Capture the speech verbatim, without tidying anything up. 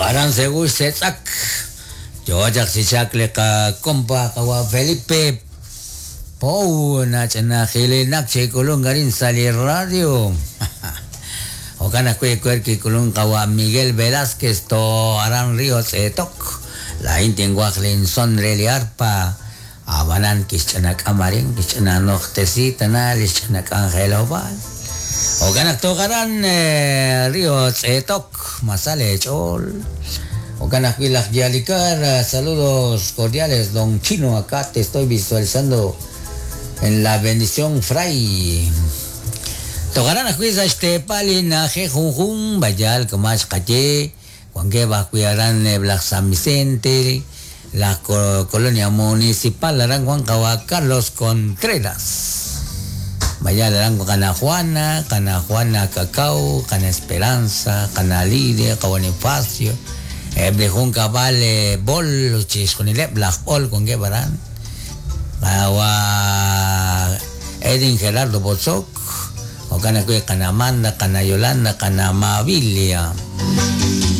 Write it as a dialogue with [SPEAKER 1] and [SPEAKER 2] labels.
[SPEAKER 1] Togaran Segur Setzak. Yo chak le ka compa kawa Felipe Pou na chana nak che kulun garin sali radio. Okana kue kuerki kulun kawa Miguel Velázquez to aran Río Tzetok. La intin guaklin son reli arpa. Abanan kischana kamarin kischana nochtesita na lischana angelobal. Okana togaran Río Tzetok masale chol. Ocana Yalikar, saludos cordiales, don Chino, acá te estoy visualizando en la bendición Fray. Tocarán a juiz este palina, jejunjun, bayal, comach, caché, Juan Gueva, cuidarán Black San Vicente, la colonia municipal, Aran Juan Cawa, Carlos Contreras. Bayal, Aran Cana Juana, Cana Juana Cacao, Cana Esperanza, Cana Lidia, Cabonifacio. Eblejun cabal bol chisconilep blaj ol con guevaran. Awa Edin Gerardo Bozoc, o cana cue cana Amanda, cana Yolanda, cana Mabilia.